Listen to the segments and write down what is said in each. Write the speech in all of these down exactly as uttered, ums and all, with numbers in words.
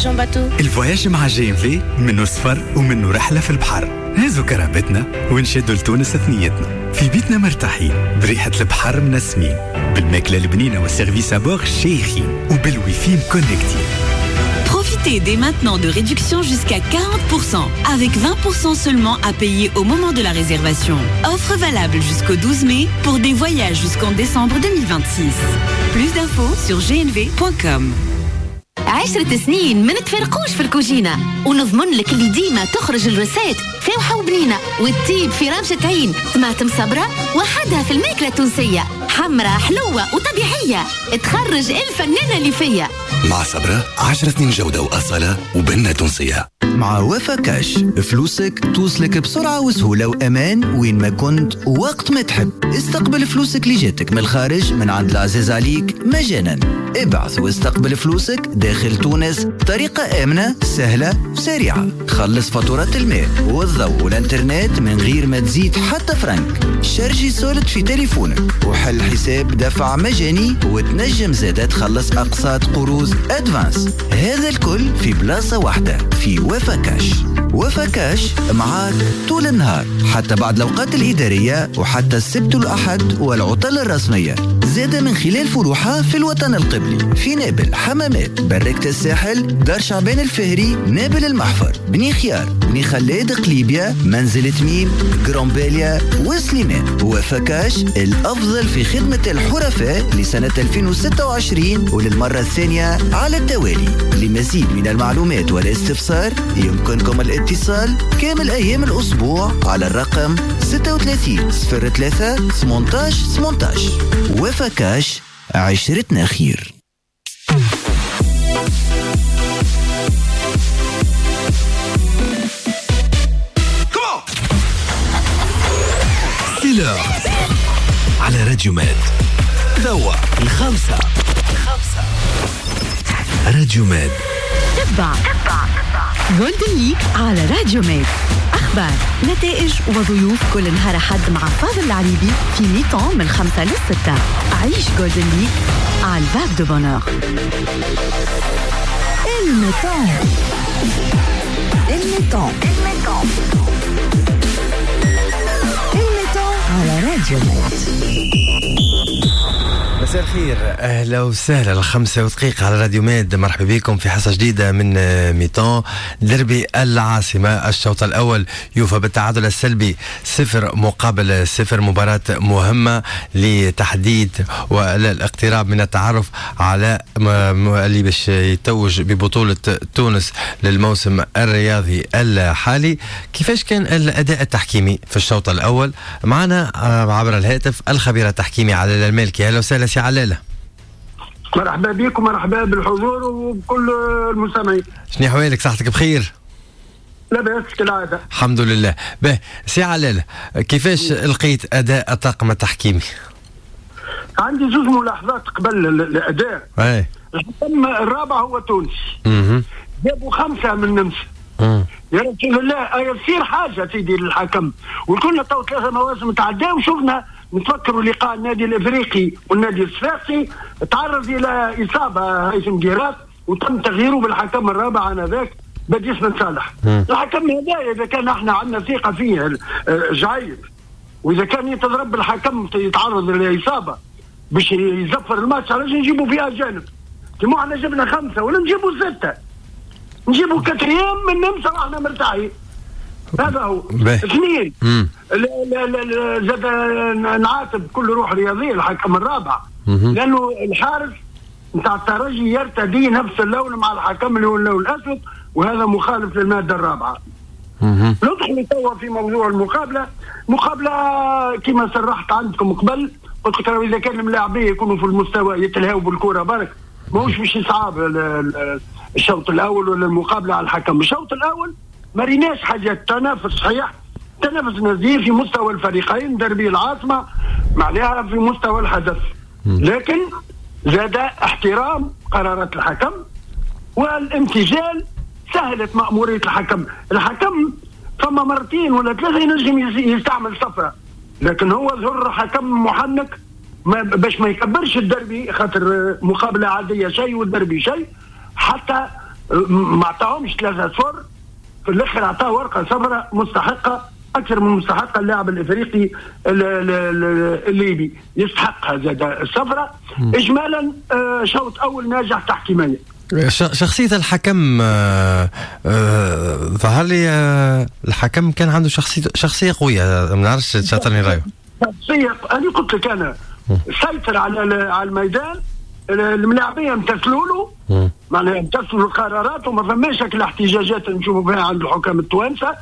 voyage en bateau. ال voyage مع GNV منه سفر ومنه رحلة في البحر. نهزو كرهبتنا ونشدوا لتونس ثنيتنا، في بيتنا مرتاحين، بريحة البحر منسمين، بالماكلة البنينة وال service à bord شيخين، وبالويفي مكونكتين. Profitez dès maintenant de réductions jusqu'à quarante pour cent, avec vingt pour cent seulement à payer au moment de la réservation. Offre valable jusqu'au douze mai pour des voyages jusqu'en décembre deux mille vingt-six. Plus d'infos sur g n v point com. عشرة سنين ما نتفرقوش في الكوجينة، ونضمن لك اللي ديما تخرج ال recette فاوحة وبنينة وتطيب في رمشة عين. طماطم صبرة وحدها في الماكلة التونسية، حمرة حلوة وطبيعية، تخرج الفنانة اللي فيا. مع صبرة عشرة سنين جودة وأصالة وبنة تونسية. مع وفا كاش فلوسك توصلك بسرعة وسهولة وأمان وين ما كنت ووقت ما تحب. استقبل فلوسك اللي جاتك من الخارج من عند العزيز عليك مجانا. ابعث واستقبل فلوسك داخل تونس بطريقة آمنة سهلة وسريعة. خلص فاتورة الماء والضوء والانترنت من غير ما تزيد حتى فرنك. شارجي solde في تليفونك وحل حساب دفع مجاني، وتنجم زادة تخلص أقساط قروض avance. هذا الكل في بلاصة واحدة في وفا كاش. وفا كاش معاك طول النهار حتى بعد الأوقات الإدارية وحتى السبت والأحد والعطل الرسمية. زادة من خلال فروعها في الوطن القبلي في نابل، حمامات، بركة الساحل، دار شعبان الفهري، نابل المحفر، بني خيار، بني خلاد، قليبيا، منزل تميم، جرامباليا وسليمان. وفا كاش الأفضل في خدمة الحرفاء لسنة ألفين وستة وعشرين وللمرة الثانية على التوالي. لمزيد من المعلومات والاستفسار يمكنكم الاتصال كامل أيام الأسبوع على الرقم ستة وثلاثين صفر ثلاثة ثمانية عشر ثمانية عشر. وفا كاش، عشرتنا خير. C'est l'heure على راديو ماد. توا الخمسة خمسة راديو ماد. تبع Golden League على راديو ماد. أخبار، نتائج وضيوف كل نهار أحد مع فاضل العريبي في mi-temps من خمسة للستة. عيش Golden League على ال Vague de bonheur. ال mi-temps ال mi-temps ال mi-temps على راديو ماد. مساء الخير، اهلا وسهلا. الخمسة ودقيقة على راديو ماد. مرحبا بكم في حصة جديدة من mi-temps. دربي العاصمة، الشوط الأول يوفى بالتعادل السلبي صفر مقابل صفر. مباراة مهمة لتحديد والاقتراب من التعرف على اللي باش يتوج ببطولة تونس للموسم الرياضي الحالي. كيفاش كان الأداء التحكيمي في الشوط الأول؟ معنا عبر الهاتف الخبير التحكيمي علال المالكي. اهلا وسهلا سي علالة. مرحبا بكم، مرحبا بالحضور وبكل المستمعين. شنو احوالك؟ صحتك بخير؟ لاباس كالعادة الحمد لله. به سي علالة، كيفاش لقيت أداء الطاقم التحكيمي؟ عندي زوج ملاحظات قبل الأداء. اي الحكم الرابع هو تونسي، جابوا خمسة من النمسا. يا رسول الله يصير حاجة سيدي للحكم. وكنا تو ثلاثة مواسم تعداو وشفنا، نتفكروا لقاء النادي الافريقي والنادي الصفاقسي، تعرض الى اصابه هيثم جيرات وتم تغييره بالحكم الرابع انذاك بديس بن صالح. الحكم هذا اذا كان احنا عندنا ثقة فيه جعيب، واذا كان يتضرب بالحكم يتعرض للاصابة باش يزفر الماتش، علاش نجيبوا فيها اجانب؟ كيما احنا جبنا خمسة ولا نجيبوا ستة، نجيبوا quatrième من النمسا واحنا مرتاحين. هذا هو. اثنين، زاد نعاتب كل روح رياضية الحكم الرابع، لانه الحارس نتاع الترجي يرتدي نفس اللون مع الحكم اللي هو اللون الاسود، وهذا مخالف للمادة الرابعة. ندخل توا في موضوع المقابلة. مقابله كما صرحت عندكم قبل، قلت لك اذا كان الملاعبيه يكونوا في المستوى يتلهوا بالكرة برك، ماهوش باش يصعب الشوط الاول ولا المقابلة على الحكم. الشوط الاول ما ريناش حاجات، تنافس صحيح، تنافس نزيه في مستوى الفريقين، دربي العاصمة معناها في مستوى الحدث، لكن زاد احترام قرارات الحكم والامتثال سهلت مأمورية الحكم. الحكم فما مرتين ولا ثلاثة ينجم يستعمل صفرة، لكن هو ظهر حكم محنك ما باش ما يكبرش الدربي، خاطر مقابلة عادية شيء والدربي شيء، حتى ما عطاهمش ثلاثة صفر، في الاخر عطاه ورقة صفراء مستحقه اكثر من مستحقه. اللاعب الافريقي الليبي يستحقها زاد الصفراء. اجمالا شوط اول ناجح تحكيميا. شخصية الحكم آه آه ظهر لي آه الحكم كان عنده شخصية شخصية قوية، ما نعرفش تشاطرني رأيه. شخصية، أنا قلت لك أنا سيطر على على الميدان، الملاعبية امتثلوا له، معناها امتثلوا القرارات وما فماش الاحتجاجات اللي نشوفوا فيها عند الحكام التوانسة.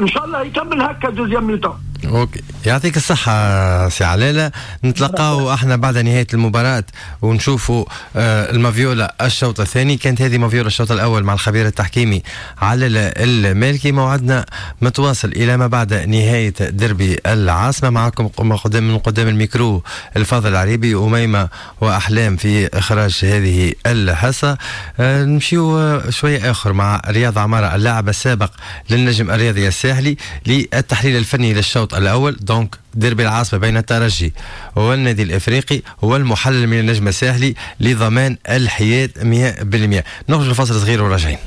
إن شاء الله يكمل هكا deuxième mi-temps. OK، يعطيك الصحة سي علالة. نتلقاو احنا بعد نهاية المباراة ونشوفوا آه المافيولا الشوط الثاني. كانت هذه مافيولا الشوط الأول مع الخبير التحكيمي علالة المالكي. موعدنا متواصل إلى ما بعد نهاية دربي العاصمة. معكم قدام من قدام الميكرو الفاضل العريبي، أميمة وأحلام في إخراج هذه الحصة. آه نمشيو شوية آخر مع رياض عمارة اللاعب السابق للنجم الرياضي الساحلي للتحليل الفني للشوط الأول. donc ديربي العاصمة بين الترجي والنادي الإفريقي والمحلل من النجم الساحلي لضمان الحياد مئة بالمئة. نخرج لفاصل صغير وراجعين.